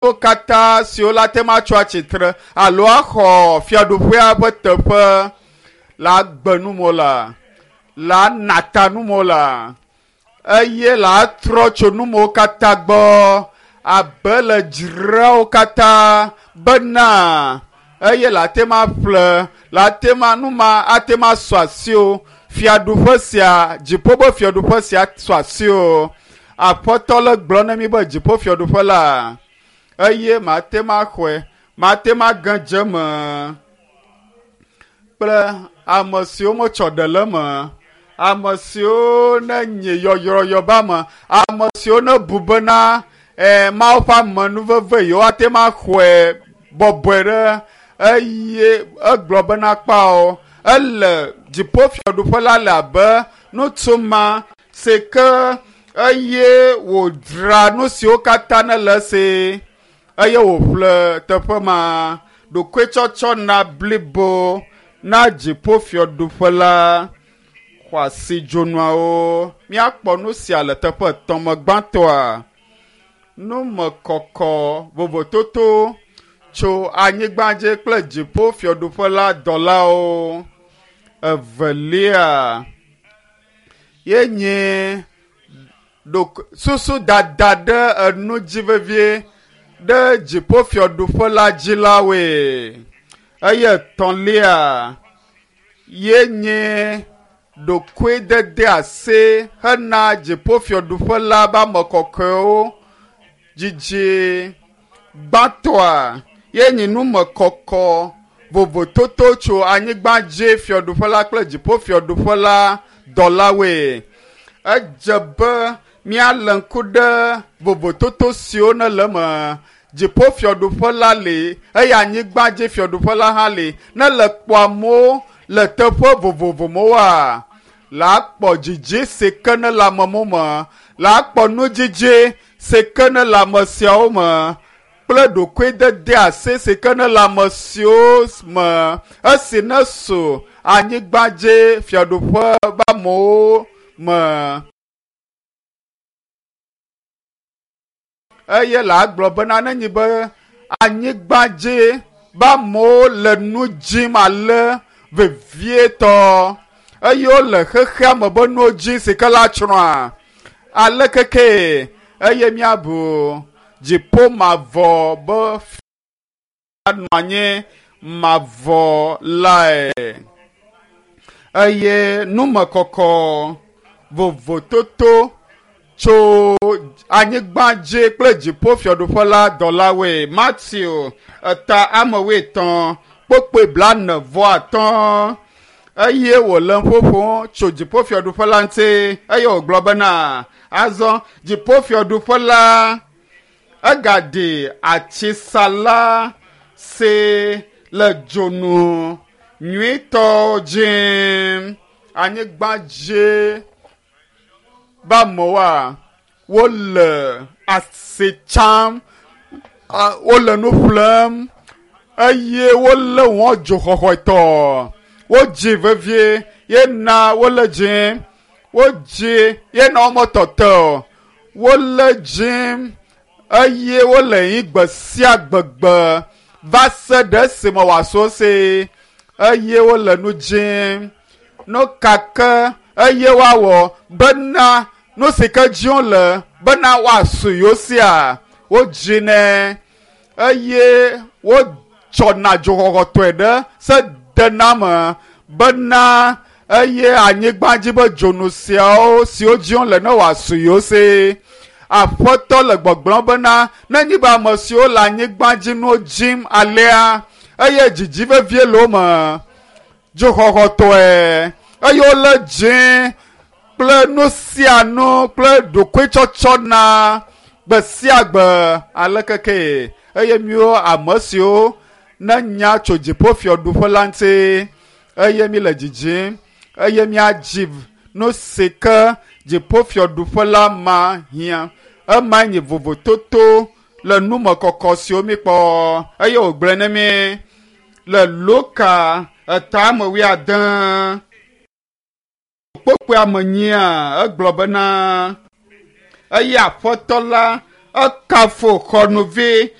Nuwo katã siwo la te ma tso atsitre alo axɔ fiaɖuƒea ƒe teƒe la gbe numo la, la nata numo la eye la trɔ tso numo katã gbɔ abe le dzreawo katã bena eye la te ma ƒle la te ma nu ma ate ma sɔ asi o fiaɖuƒe sia dziƒo be fiaɖuƒe sia sɔ asi o aƒetɔ le gblɔ na mi be dziƒo fiaɖuƒe la eye mate ma xɔe mate ma ge dze me kple ame siwo metsɔ ɖe le me ame siwo ne nye yɔyrɔyɔ ba me ame siwo ne bu bena ɛ mawo ƒe amenuveve yewo ate ma xɔe bɔbɔe ɖe eye egblɔ bena kpao ele dziƒofiaɖuƒe la le abe ŋutsu ma si ke eye wòdzra nu siwo katã ne le esi eye wòƒle teƒe ma ɖokuitsɔtsɔ na blibo na dziƒofiaɖuƒe la xɔasi dzonuawo míakpɔ nu sia le teƒe etɔ̃ me gbãtɔa numekɔkɔ vovototo tso anyigba dzi kple dziƒo fiaɖuƒe la dɔlawo evelia ye nye susu dada ɖe enu dzi vevie ɖe dziƒo fiaɖuƒe la dzi la woe eye etɔ̃lia ye nye ɖokuidede ase hena dziƒo fiaɖuƒe la be ame kɔkɔewo dzidzi gbãtɔa ye nye numekɔkɔ vovototo tso anyigba dzi fiaɖuƒe la kple dziƒo fiaɖuƒe la dɔlawoe edze be míalé ŋku ɖe vovototo siwo ne le eme dziƒo fiaɖuƒe la li eye anyigba dzi fiaɖuƒe la hã li ne le kpɔ amewo le teƒe vovovo mewoa la kpɔ dzidzi si ke ne le amewo me la kpɔ nudzidzi si ke ne le ame siawo me kple ɖokuidede ase si ke ne le ame siwo me esi ne su anyigba dzi fiaɖuƒe be amewo me. Eye la gblɔ bena ne nyi be anyigba dzi be amewo le nu dzim ale vevietɔ eye wole xexea me be nuwo dzi si ke la tsrɔ̃a ale keke eye míabu dziƒo mavɔ be nɔ anyi mavɔ lae eye numekɔkɔ vovototo tso anyigba dzi kple dziƒo fiaɖuƒe la dɔlawoe Matthew eta ame wuietɔ̃ kpokpoe blaene vɔ atɔ̃ eye wòle ƒoƒo tso dziƒo fiaɖuƒe la ŋuti eye wògblɔ bena azɔ dziƒo fiaɖuƒe la egaɖi atisala si le dzonu nyuitɔ dzi anyigba dzi be amewoa wole asi tsam wole nu ƒlem eye wolé wɔn dzoxɔxɔetɔ wodzi vevie ye na wole dzi wodzi ye na wɔmetɔtɔ wole dzi eye wole yi gbe sia gbegbe va se ɖe esime wòaso se eye wole nu dzim nu ka ke eye woawɔ bena nu si ke dzi wole bena woasu yewo sia wodzi nɛ eye wotsɔna dzoxɔxɔtɔe ɖe se dename bena eye anyigba dzi be dzonu siawo siwo dzi wole ne wòasu yewo si aƒetɔ le gbɔgblɔm bena ne nyi be ame siwo le anyigba dzi nuwo dzim alea eye dzidzi vevie le wo me dzoxɔxɔtɔe eye wole dzi kple nu sia nu kple ɖokuitsɔtsɔ na gbe sia gbe ale keke eye miwo ame siwo ne nya tso dziƒo fiaɖuƒe la ŋuti eye mi le dzidzim eye miadzi nu si ke dziƒo fiaɖuƒe la ma hiã ema nye vovototo le numekɔkɔ siwo mi kpɔ eye wògblɔe ne mi le Luka etame wuiade kpokpoe ame nyia egblɔ bena eye aƒetɔ la ekafo xɔnuvi.